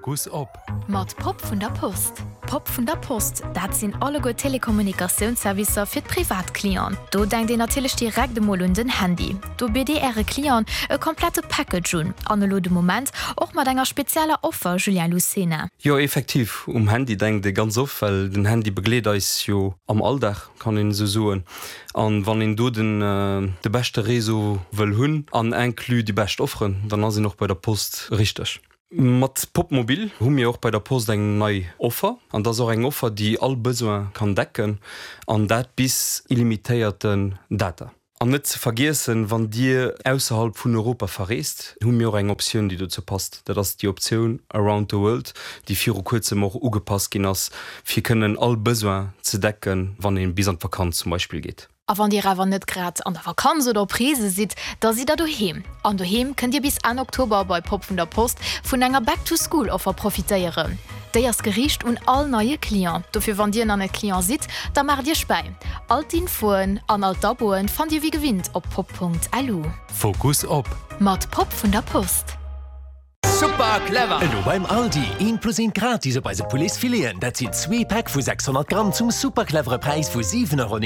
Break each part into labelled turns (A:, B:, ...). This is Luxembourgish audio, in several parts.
A: Fokus op.
B: Mat Pop vun der Post. Pop vun der Post, dat sinn alleguer Telekommunikatiounsservicer fir d'Privatclienten. Do denkt een natierlech direkt emol un den Handy. Do bitt Dir Äre Clienten e komplette Package un. An elo de Moment och mat enger spezieller Offer, Julien Lucena.
C: Jo, effektiv, um Handy denkt ee ganz oft, well den Handy begleet eis jo am Alldag, kann een esou soen. An wann een do den de beschte Réseau wëll hunn an inclus déi bescht Offeren, dann ass een och bei der Post richteg. Mat Popmobil hu mir och bei der Post eng nei Offer, an dat ass och eng Offer, déi all Besoin kann decken, an dat bis illimitéierten Data. An net ze vergiessen, wann Dir ausserhalb vun Europa verreest, hu mir och eng Optioun, déi dozou passt. Dat ass déi Optioun Around the World, déi viru kuerzem och ugepasst ginn ass, fir kënnen all Besoin ze decken, wann ee bis an d'Vakanz zum Beispill geet.
B: A wann Dir awer net grad an der Vakanz oder op Reese sidd, da sidd der doheem. An doheem kënnt Dir bis Enn Oktober bei Pop vun der Post vun enger Back to School Offer profitéieren. Déi ass geriicht un all neie Client. Dofir wann Dir nach net Client sidd, da maacht Iech bäi. All d'Infoen an all d'Aboen fannt Dir wéi gewinnt op pop.lu.
A: Fokus op.
B: Mat Pop vun der Post.
D: Super clever! Elo beim Aldi, eent plus eent gratis op eise Pouletsfileten, dat sinn zwee Päck vu 600 Gramm zum super clevere Präis vu 7,49 Euro.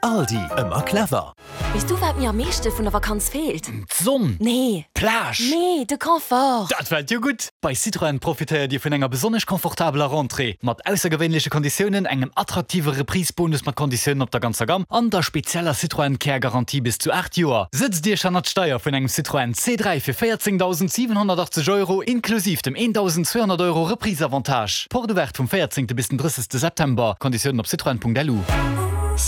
D: Aldi, ëmmer clever!
E: Weess du wat mir am meeschte vun der Vakanz feelt?
F: D'Sonn!
E: Nee!
F: D'Plage!
E: Nee, de Confort!
F: Dat fält jo gutt! Bei Citroën profitéiert Dir vun enger besonnesch confortabeler Rentrée, mat aussergewéinleche Konditiounen, engem attraktive Reprise-Bonus mat Konditiounen op der ganzer Gamm an der spezieller Citroën Care Garantie bis zu 8 Joer. Sëtzt Iech hannert d'Steier vun engem Citroën C3 fir 14.780 Euro inklusiv dem 1.200 Euro Reprise-Avantage. Porte ouverte vum 14. bis den 30. September. Konditiounen op citroën.lu.